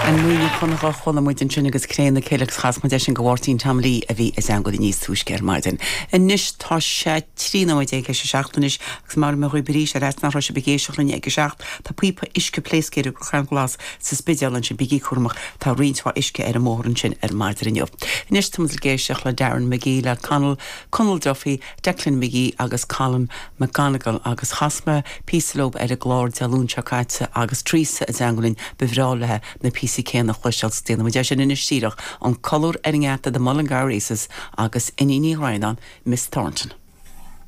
An Muimhneach Chonnacht a chuala muid ansin agus Cré na Cille agus chas muid é sin go Mháirtín Tom Lee a bhí i dteangmháil linn níos túisce ar maidin. Anois tá sé 13 nóiméad théis a 7 anois agus mairfidh mé dhaoibh arís ar fhaitíos nach raibh sibh ag éisteacht linn ag a 7. Tá píopa uisce pléasctha ar an gCrocán Glas sa Spidéal ansin, bígí cúramach, tá roinnt mhaith uisce ar an mbóthar ansin ar maidin inniu. Anois tá muid ag éisteacht le Darren McGee, le Conall, Conall Duffy, Declan McGee agus Colin McGonigle agus chas mé píosa leo ar an gclár Dé Luain seo caite agus Teresa i dteangmháil linn, ba bhreá léi na píosaí céanna a chloisteáil so déanfaidh muid é sin anois díreach, An Colúr ar an nGeata The Mullingar Aces agus Iníon Uí Dhroighneáin, Miss Thornton.